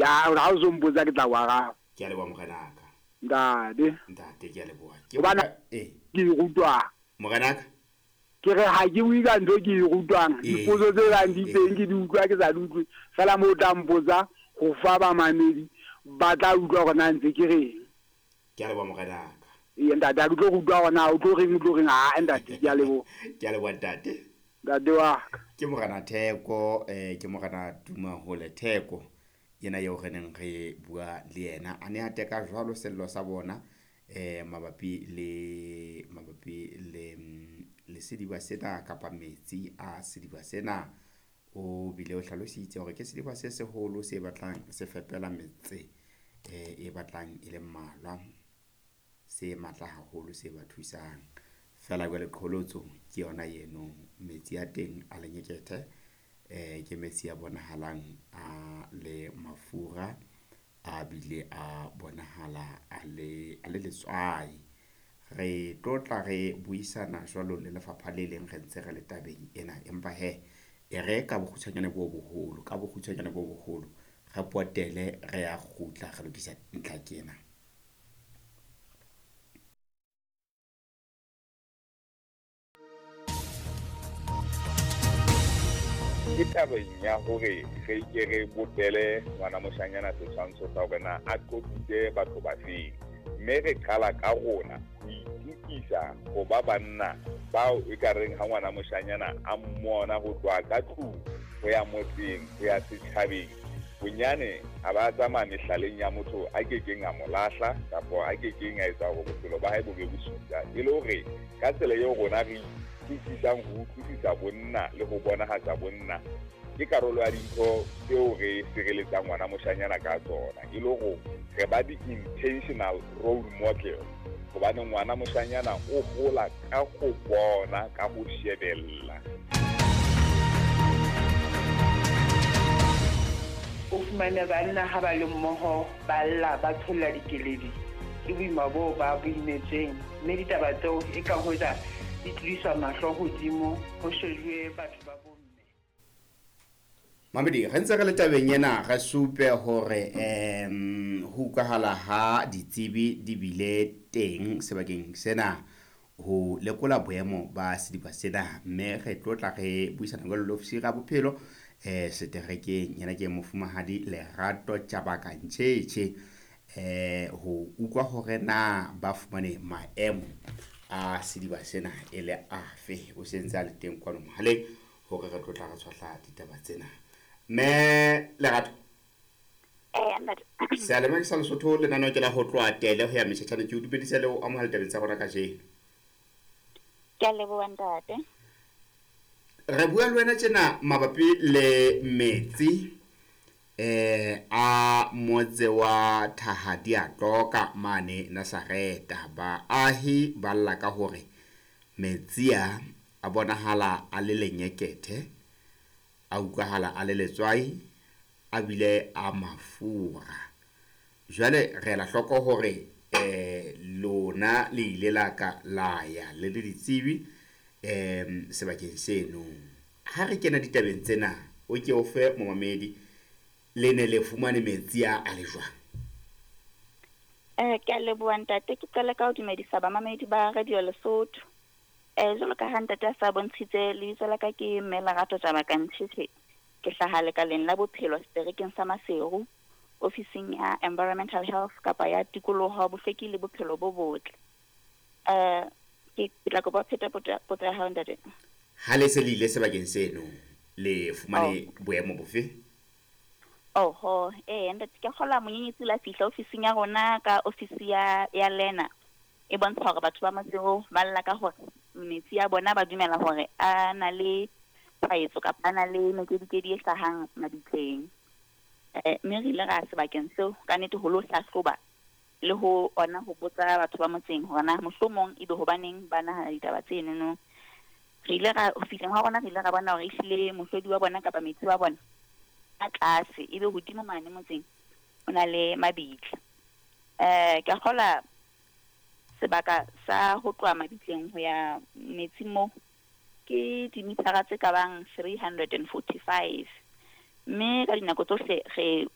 Ya ha o so mpotsa ke tla o araba. Ke a leboha morenaka. Ntate. Ntate ke a leboha. Ke Hobane ee. ke e rutwang. Morenaka. Ke re ha ke bue ka ntho e ke e rutwang. Dipotso tse bang di teng ke di utlwa ke sa di utlwe. Feela moo o tla mpotsa ho fa bamamedi ba tla utlwa hore na ntse ke reng. Ke a leboha morenaka. Ee ntate ha ke tlo rutwa hore na o tlo reng o tlo reng aa ntate ke a leboha. Ke a leboha ntate. Ntate wa ka. Ke morena Theko eh ke morena Tumahole Theko yena eo re neng re bua le yena a ne a teka jwalo sello sa bona eh mabapi le mabapi le le sediba sena kapa metsi a sediba sena. O bile o hlalositse hore ke sediba se seholo se batlang se fepela metse eh e batlang e le mmalwa se matla haholo se ba thusang. Feela jwale qholotso ke yona eno metsi a teng a lenyekethe eh ke metsi a bonahalang a le mafura a bile a bonahala a le a le letswai. Re tlo tla re buisana jwalo le lefapha le leng re ntse re le tabeng ena, empa he e re ka bokgutshwanyane bo boholo ka bokgutshwanyane bo boholo re potele re ya kgutla re lokisa ntlha ke ena. Ke tabeng ya hore re ke re bopele ngwana moshanyana setshwantsho sa hore na a qotsitse batho ba feng, mme re qala ka rona ho itukisa ho ba banna bao e ka reng ha ngwana moshanyana a mmona ho tloha ka tlung ho ya motseng ho ya setjhabeng, bonyane a ba tsamaya mehlaleng ya motho a kekeng a mo lahla kapa a kekeng a etsa hore bophelo ba hae bo be bosula. E le hore ka tsela eo rona re utlwisisang ho utlwisisa bonna le ho bonahatsa bonna ke karolo ya dintho tseo re sireletsang ngwana moshanyana ka tsona, e le hore re ba di-intentional role model, hobane ngwana moshanyana o hola ka ho bona, ka ho shebella. O fumane banna ha ba le mmoho ba lla ba tsholla dikeledi ke boima boo ba bo imetsweng, mme ditaba tseo e ka hoja di tlodiswa mahlo hodimo ho shejuwe batho ba bomme. Mamedi, re ntse re le tabeng ena re supe hore ho utlwahala ha ditsebi di bile teng sebakeng sena ho lekola boemo ba sediba sena, mme re tlo tla re buisana jwalo le ofisiri ya bophelo seterekeng yena ke mofumahadi Lerato Tjabaka Ntjhetjhe ho utlwa hore na ba fumane maemo a sediba sena e le afe. O sentse a le teng kwano mohaleng hore re tlo tla re tshwahla ditaba tsena. Mme Lerato, seyalemoya sa Lesotho lenaneo ke la ho tloha tele ho ya metjhatjhane. Ke o dumedisa le ho amohela tabeng tsa rona kajeno. Ke a leboha ntate. Re bua le wena tjena mabapi le metsi a motse wa Thahadiatoka mane Nazareta. Baahi ba lla ka hore metsi a a bonahala a le lenyekethe, a utlwahala a le letswai, a bile a mafura. Jwale re ela hloko hore lona le ile la ka la ya le le ditsebi sebakeng seno. Ha re kena ditabeng tsena, o ke o fe momamedi le ne le fumane metsi a a le jwang? Ke a leboha ntate. Ke qale ka ho dumedisa bamamedi ba Radio Lesotho. Jwalo ka ha ntate a sa bontshitse, lebitso la ka ke Mme Lerato Tjabaka Ntjhetjhe. Ke hlaha lekaleng la bophelo seterekeng sa Maseru, ofising ya Environmental Health kapa ya tikoloho, bohlweki le bophelo bo botle. Ke tla kopa pheta potso ya hao ntate. Ha le se le ile sebakeng seno le fumane boemo bofe? Oho, ntate, ke kgola monyenyetsi la fihla ofising ya rona ka ofisi ya Lena. E bontsha hore batho ba Maseru ba lla ka hore metsi a bona ba dumela hore a na le tshwaetso kapa a na le mekedikedi e hlahang mabitleng. Mme re ile ra sebakeng seo ka nnete ho lo hlahloba le ho ona ho botsa batho ba motseng hore na mohlomong ebe hobaneng ba nahana ditaba tsenono. Re ile ra ho fihleng ha rona re ile ra bona hore ehlile mohlodi wa bona kapa metsi wa bona a tlase, ebe hodimo mane motseng o na le mabitla. Ke a kgola sebaka sa ho tloha mabitleng ho ya metsing moo ke dimithara tse ka bang 345, mme ka dinako tsohle re